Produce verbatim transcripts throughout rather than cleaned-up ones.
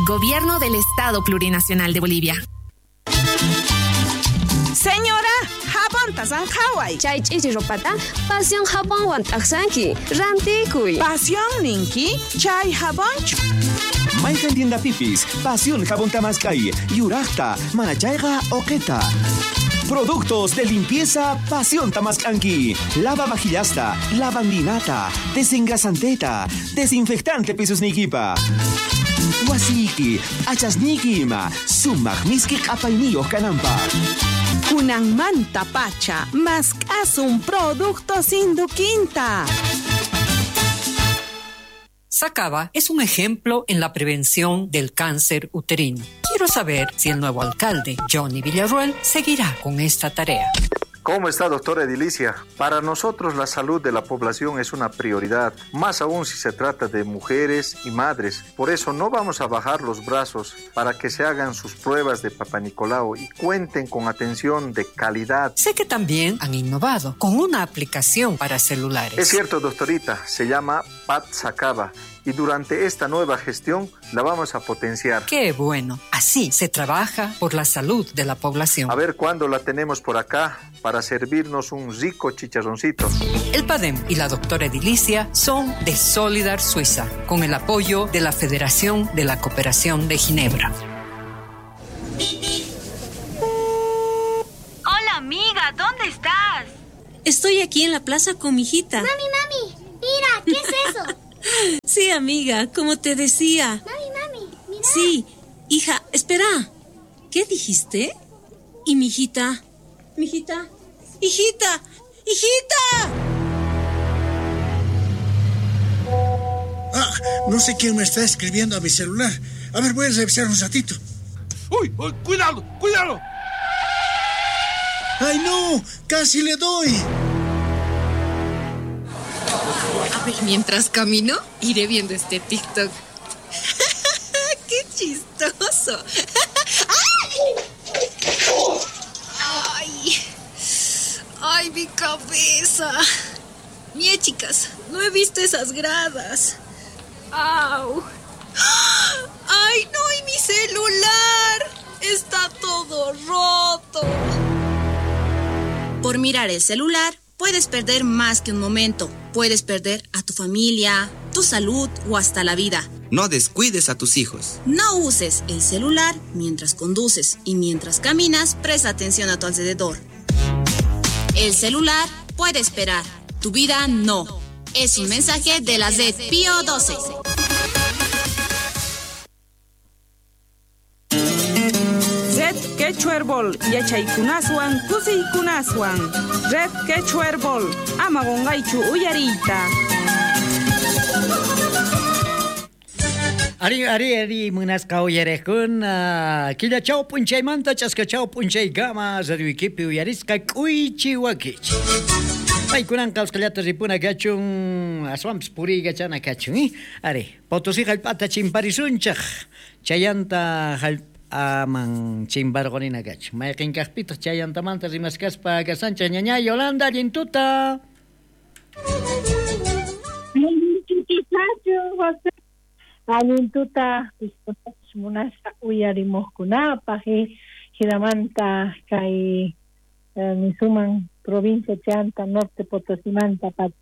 Gobierno del Estado Plurinacional de Bolivia. Señora, jabonta sanqhaway. Chay ch'ichi ropata Pasión jabonwan t'aqsanki. Rantikuy. Pasión ninki, chay jabonchu. Mayqan tiendapipis, Pasión jabón tamaskay, yuraqta, manachayqa oqeta. Productos de limpieza Pasión Tamascanqui. Lava vajillasta, lavandinata, desengrasanteta, desinfectante pisusnikipa. Wasiki, achasniki ima, sumaq miski q'apayniyuq kananpaq. Kunanmanta pacha, mask'asun productos Induquinta. Sacaba es un ejemplo en la prevención del cáncer uterino. Quiero saber si el nuevo alcalde, Johnny Villarruel, seguirá con esta tarea. ¿Cómo está, doctora Edilicia? Para nosotros la salud de la población es una prioridad, más aún si se trata de mujeres y madres. Por eso no vamos a bajar los brazos para que se hagan sus pruebas de Papanicolau y cuenten con atención de calidad. Sé que también han innovado con una aplicación para celulares. Es cierto, doctorita, se llama Pat Sacaba. Y durante esta nueva gestión la vamos a potenciar. ¡Qué bueno! Así se trabaja por la salud de la población. A ver cuándo la tenemos por acá para servirnos un rico chicharroncito. El PADEM y la doctora Edilicia son de Solidar Suiza, con el apoyo de la Federación de la Cooperación de Ginebra. Hola, amiga, ¿dónde estás? Estoy aquí en la plaza con mi hijita. Mami, mami, mira, ¿qué es eso? Sí, amiga, como te decía. Mami, mami, mira. Sí, hija, espera. ¿Qué dijiste? ¿Y mi hijita? ¿Mi hijita? ¡Hijita! ¡Hijita! Ah, no sé quién me está escribiendo a mi celular. A ver, voy a revisar un ratito. ¡Uy! Uy, ¡cuidado! ¡Cuidado! ¡Ay, no! ¡Casi le doy! A ver, mientras camino, iré viendo este TikTok. ¡Qué chistoso! ¡Ay! ¡Ay, mi cabeza! Mie, chicas, no he visto esas gradas. ¡Au! ¡Ay, no! ¡Y mi celular! ¡Está todo roto! Por mirar el celular, puedes perder más que un momento. Puedes perder a tu familia, tu salud o hasta la vida. No descuides a tus hijos. No uses el celular mientras conduces y mientras caminas, presta atención a tu alrededor. El celular puede esperar, tu vida no. Es un mensaje de la Red Pío doce. Red Quechuerbol, yachaykunaswan, kusiykunaswan. Red Quechuerbol, ama qonqaychu uyariyta. Ari, ari, ari, munasqa uyariqkuna. Killachaw p'unchaymanta ch'askachaw p'unchaykama radioykipi uyarisqa k'uychi wakichi. Paykunanqa usqhayllata ripuna kachun, aswanpis puriykachana kachun, eh? Ari, Potosí hallp'ata chimparisunchaq, chayanta hallp'aman chimparqunina kachun. Mayqin kaqpitaq chayantamanta rimaskaspa kasanchaq ñaña Yolanda, allin tuta. Allin tuta munasqa uyarimuqkunapaq, hinamanta kay nisuman provincia Chanta Norte Potosimanta pat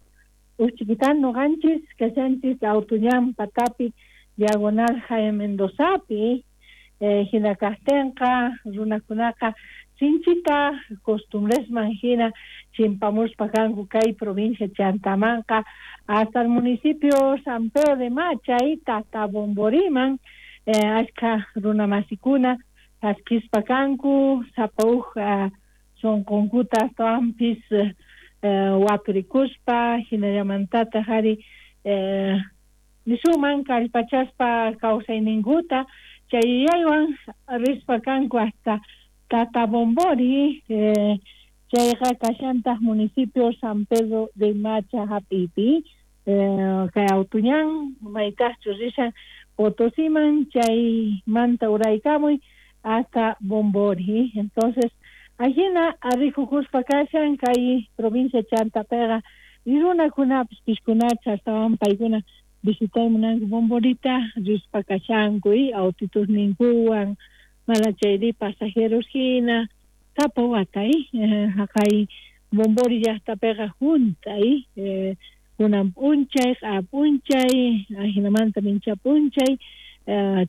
uchkitan noqanchis kashanchis Autuñan patapi diagonal Jaime Mendozapi, hina kaqtinqa runakunaqa sinchita costumbresman hina chimpamuspa kanku kay provincia Chantamanqa hasta el municipio San Pedro de Machay hasta Bomboriman, eh, achka runamasikuna chaskispa kanku sapa uj sunqunkuta astawanpis eh, waturikuspa hinallamantataq ari eh, nisuman kallpachaspa kawsayninkuta chay yuyaywan rispa kanku hasta Tata Bombori, eh, chayqa kashantaq municipio San Pedro de Macha hap'ipi, eh, kay Autuñan maytaqchus rishan Potosiman chaymanta uraykamuy hasta Bombori. Entonces ajina rikukuspa kashan kay provincia Chantapiqa runakunapis pishkunacha astawan paykuna Visitay munanku Bomborita rispa kashanku y autitos ninkuwan mana chayri pasajeros hina sapa wata haqay Bombori llaqtapiqa junta y kunan p'unchay q'a p'unchay ajinamanta mincha p'unchay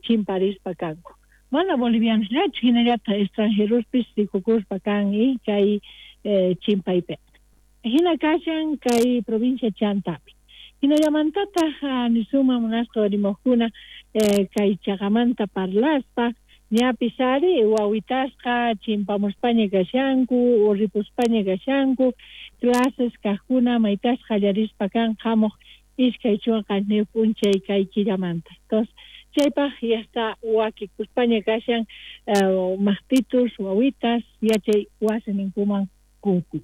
chimparispa kanku mana bolivianosllachu hinallataq extranjerospis rikukuspa kan y kay chimpaypiqa hina kashan kay provincia Chantapi hinallamantataq nisuma munasqa rimaqkuna kay chaqamanta parlaspa ñapis ari wawitasqa chimpamuspaña kashanku urripuspaña kashanku clases kaqkuna maytasqa qallarispa kan hamuq iskay chunka qanchis p'unchay kay killamanta entonces chaypaq ya está wakikuspaña kashan maqtitus wawitas yachay wasininkuman kuti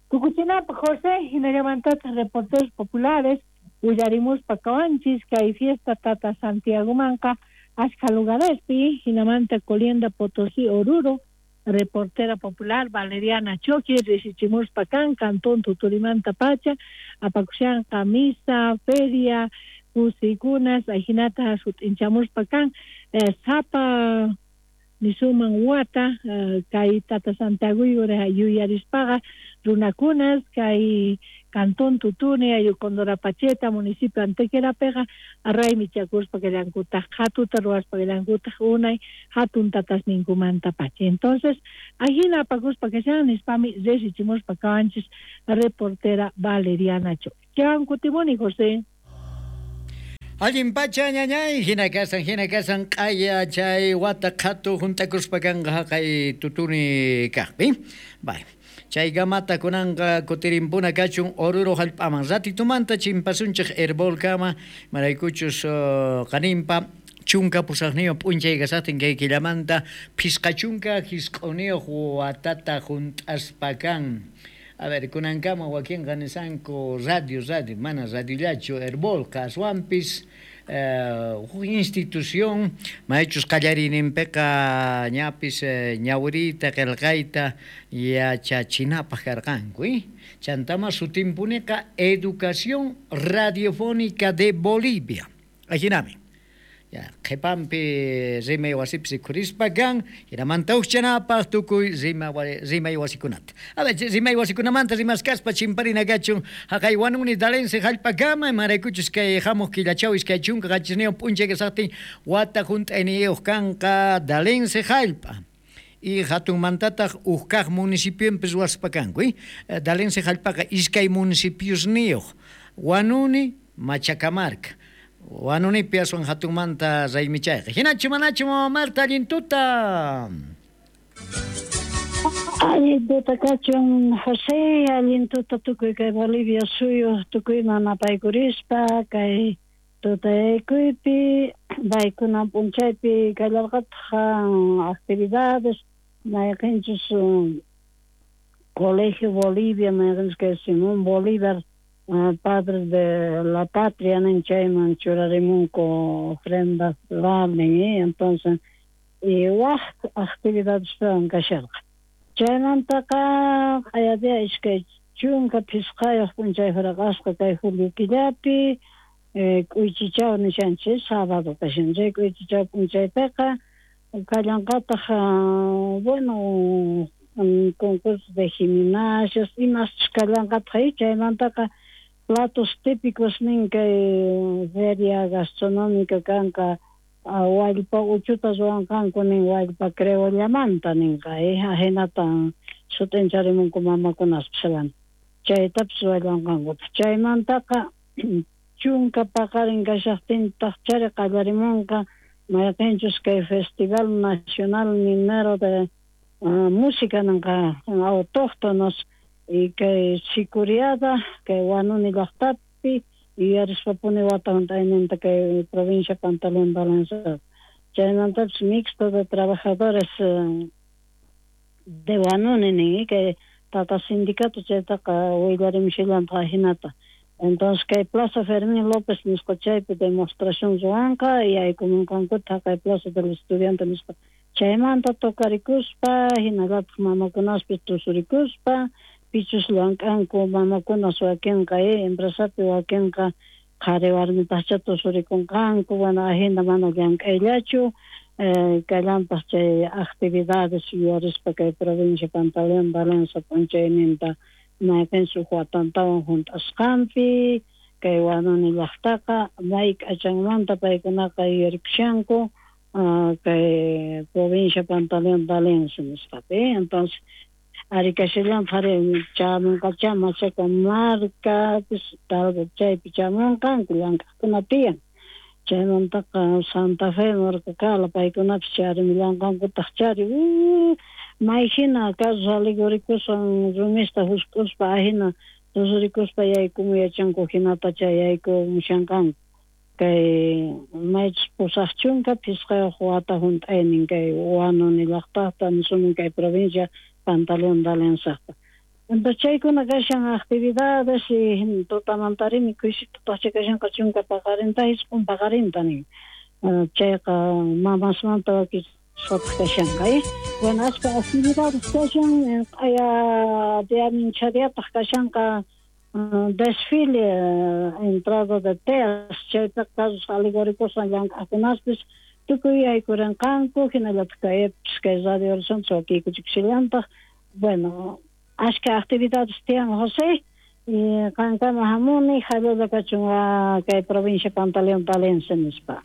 Tukuchinapaq José hinallamantataq reporteros populares willarimuspa kawanchis kay fiesta Tata Santiagomanqa ashka lugarespi hinamanta Colienda Potosí Oruro reportera popular Valeriana Choqui risichimuspa kan cantón Tuturimanta pacha apakushanqa misa feria kusikunas ajinata sut'inchamuspa kan eh, sapa nisuman wata eh, kay Tata Santiago yuyarispaqa runakunas kay Cantón Tutuni, Ayucondorapacheta, municipio Antequerapeqa raymichakuspa kallankutaq qhatuta ruwaspa kallankutaq unay hatun tatasninkumanta pacha. Entonces, ajina apakuspa kashan nispami risichimuspa kawanchis reportera Valeriana Choqui. Chawan kutimuni, José. Allin pacha ñañay, hina kasan, hina kasan, q'aya chay wata qhatu juntakuspa kanqa haqay Tutuni kaqpi. Bye. Chay gamata kunanqa kutirimpuna kachun Oruro hallp'aman ratitumanta chimpasunchik Herbolkama maraykuchus uh, qaninpa chunka pusaqniyuq p'unchay kasaqtin kay killamanta phisqa chunka hisq'uniyuq watata junt'aspa kan. A ver, kunankama wakinqa nisanku radio, radio, mana radiollachu Herbolqa aswanpis huk uh, institución maychus qallariyninpiqa ñapis uh, ñawiriyta qillqayta yachachinapaq karqanku eh? Chantama sutinpuniqa Educación Radiofónica de Bolivia ajinami ya qhipanpi rimay wasipis rikhurispa kan hinamanta hukchanapaq tukuy rima rimay wasikunata a ver rimay wasikunamanta rimaskaspa chimparina kachun haqay Wanuni Dalense hallp'akama imaraykuchus kay hamuq killachaw iskay chunka qanchisniyuq p'unchay kasaqtin wata hunt'ayniyuq kanqa Dalense hallp'a y hatunmantataq huk kaq municipionpis ruwaspa kanku eh? Dalense hallp'aqa iskay municipiosniyuq Wanuni Machacamarca Wanunipi aswan hatunmanta raymichayqa. Hinachu manachu mama Marta allin tuta. Allin tuta kachun José, allin tuta tukuy kay Bolivia suyu tukuyman apaykurispa kay tutayaykuypi paykuna p'unchaypi kallarqataq actividades mayqinchus Colegio Bolivia mayqinchus kay Simón Bolívar Uh, padres de la patria nin chayman churarimunku ofrenda floral nin eh? Entonces y waj actividades kasharqa chaymantaqa q'ayadia iskay chunka phisqayuq p'unchay huraqasqa kay julio killapi eh, k'uychichaw nishanchis sábado kashan chay k'uychichaw p'unchaypiqa kallanqataq uh, bueno un concurso de gimnasios imaschus kallanqataq chaymantaqa platos típicos nin kay feria gastronómica kanqa wallpa uchuta ruwanqanku nin wallpa creollamanta ninqa eh ajinata sut'incharimunku mamakunaspis chaytapis ruwallanqankutaq chaymantaqa chunka paqarin kashaqtintaq chari qallarimunqa mayqinchus kay Festival Nacional Minero de uh, Música ninqa autóctonos y kay Sicuriada kay Wanuni llaqtapi yuyarispapuni wata hunt'ayninta kay provincia Pantaleón Balanza chaymantapis mixto de trabajadores uh, de Wanuni nin kay tata sindicato chaytaqa willarimushallantaq ajinata entonces kay Plaza Fermín López nisqa chaypi demostración ruwanqa yaykumunqankutaq kay Plaza del Estudiante nisqa chaymanta tocarikuspa hinallataq mamakunaspis tusurikuspa pichus llank'anku mamakunas wakinqa eh, empresapi wakinqa Qhari warmitaqcha tusurikunqanku, bueno, ajina mana llank'ayllachu, eh, kallanpaq chay actividades yuyarispa kay provincia Pantaleón D'Alensa p'unchayninta mayqinsi huk watantawan hunt'asqanpi, kay Huanuni llaqtaqa may k'achanmanta paykunaqa yuyarikushanku uh, kay provincia Pantaleón D'Alensa nisqapi. Entonces ari kashallan ari chamunqacha Machaca markapis tal vez chaypi chamunqanku llank'aqkuna tiyan. Chaymantaqa Santa Fe markakala paykunapis charimillanqankutaq chari may hina carros alegóricoswan rumista husk'uspa ajina tusurikuspa yaykumu yachanku hinata chay yaykumushanqanku. Kay maychus pusaq chunka phisqayuq wata hunt'aynin kay Huanuni llaqtaqta nisumun kay provincia Pantaleón D'Alensaqta. Entonces chaykuna kashan actividades y tutamantarimi kuysitutaqcha kashanqa chunka paqarinta isqun paqarinta nin. Chayqa mamasmanta wakichisqataq kashanqa, eh. Bueno, ashka actividades kashan, q'aya diaminchariataq kashanqa desfile entrada de teas, chaypiqa carros alegóricoswan llank'aqkunaspis tukuy yaykurinqanku, hinallataq kaypis kay Radio Horizonte wakiykuchikushallantaq. Bueno, ashka actividades tiyan José, y qankama hamuni hallalla kachun kay provincia Pantaleón D'Alensa nispa.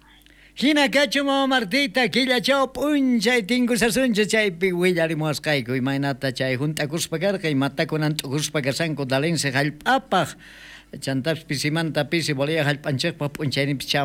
Hina kachu mama Martita, killachaw p'unchay tinkusasunchik chaypi willarimuwasqayku imaynata chay hunt'akuspa karqa imatakunan t'ukuspa kashanku D'Alensa hallp'apaq chantapis pisimanta pisi Bolivia hallp'anchikpaq p'unchayninpis chamun.